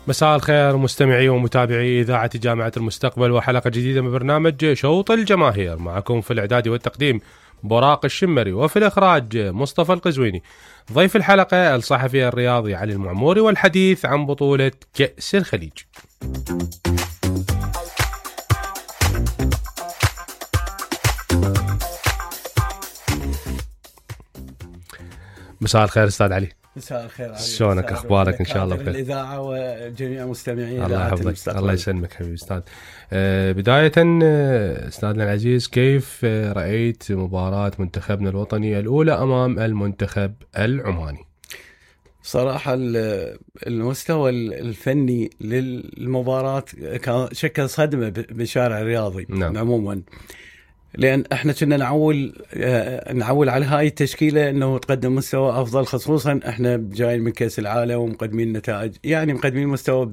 مساء الخير مستمعي ومتابعي إذاعة جامعة المستقبل، وحلقة جديدة من برنامج شوط الجماهير. معكم في الإعداد والتقديم براق الشمري، وفي الإخراج مصطفى القزويني. ضيف الحلقة الصحفي الرياضي علي المعموري، والحديث عن بطولة كأس الخليج. مساء الخير أستاذ علي. مساء الخير علي. شلونك؟ اخبارك؟ ان شاء الله بخير. الاذاعه وجميع مستمعين الله يحفظك. الله يسلمك حبيبي استاذ. بدايه استاذنا العزيز، كيف رايت مباراه منتخبنا الوطني الاولى امام المنتخب العماني؟ صراحه المستوى الفني للمباراه كان شكل صدمه بالشارع الرياضي. نعم. عموما لأن احنا كنا نعول على هاي التشكيلة انه تقدم مستوى افضل، خصوصا احنا جايين من كأس العالم ومقدمين نتائج، يعني مقدمين مستوى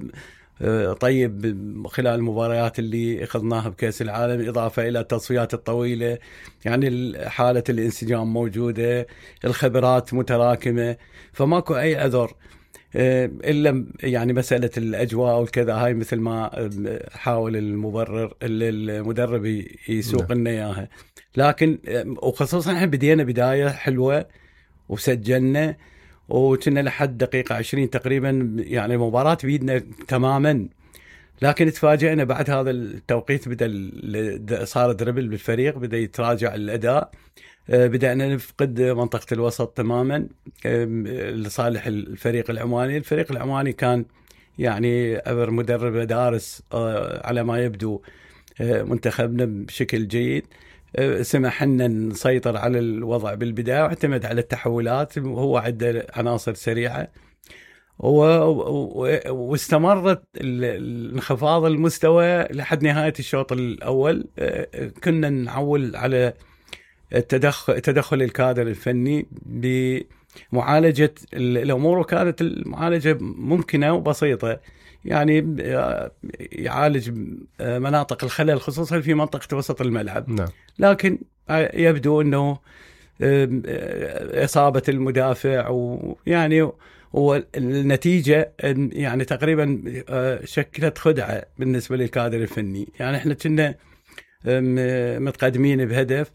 طيب خلال المباريات اللي اخذناها بكأس العالم، اضافة الى التصفيات الطويلة، يعني حالة الانسجام موجودة، الخبرات متراكمة، فماكو اي عذر إلا يعني مسألة الأجواء والكذا. هاي مثل ما حاول المدرب يسوق لنا إياها، لكن وخصوصا احنا بدينا بداية حلوة وسجلنا وكنا لحد دقيقة 20 تقريبا يعني المباراة بيدنا تماما، لكن تفاجئنا بعد هذا التوقيت بدأ صار دربل بالفريق، بدأ يتراجع الأداء، بدأنا نفقد منطقة الوسط تماما لصالح الفريق العماني. الفريق العماني كان يعني عبر مدرب دارس على ما يبدو منتخبنا بشكل جيد، سمح لنا نسيطر على الوضع بالبداية واعتمد على التحولات، وهو عنده عناصر سريعة، واستمرت انخفاض المستوى لحد نهاية الشوط الأول. كنا نعول على تدخل الكادر الفني بمعالجة الأمور، وكانت المعالجة ممكنة وبسيطة، يعني يعالج مناطق الخلل خصوصا في منطقة وسط الملعب. نعم. لكن يبدو أنه إصابة المدافع ويعني والنتيجة يعني تقريبا شكلت خدعة بالنسبة للكادر الفني. يعني احنا كنا متقدمين بهدف،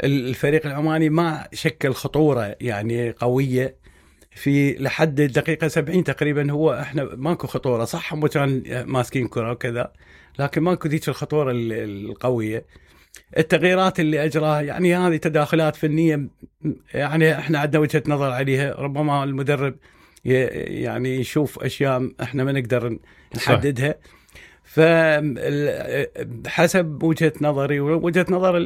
الفريق العماني ما شكل خطورة يعني قوية في لحد الدقيقة 70 تقريبا. هو احنا ماكو خطورة، صح هم كان ماسكين كرة وكذا، لكن ماكو ذيك الخطورة القوية. التغييرات اللي أجراها يعني هذه تداخلات فنية، يعني احنا عندنا وجهة نظر عليها، ربما المدرب يعني يشوف أشياء احنا ما نقدر نحددها. فحسب وجهة نظري ووجهة نظر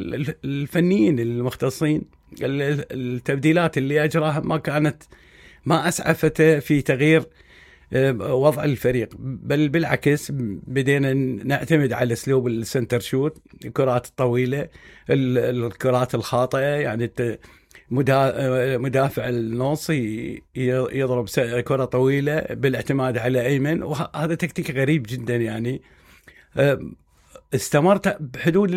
الفنيين المختصين، التبديلات اللي أجراها ما أسعفته في تغيير وضع الفريق، بل بالعكس بدينا نعتمد على أسلوب السنتر شوت، الكرات الطويلة، الكرات الخاطئة، يعني مدافع النص يضرب كرة طويلة بالاعتماد على أيمن، وهذا تكتيك غريب جدا. يعني استمرت بحدود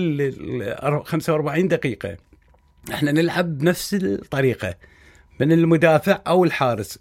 45 دقيقة احنا نلعب بنفس الطريقة من المدافع أو الحارس،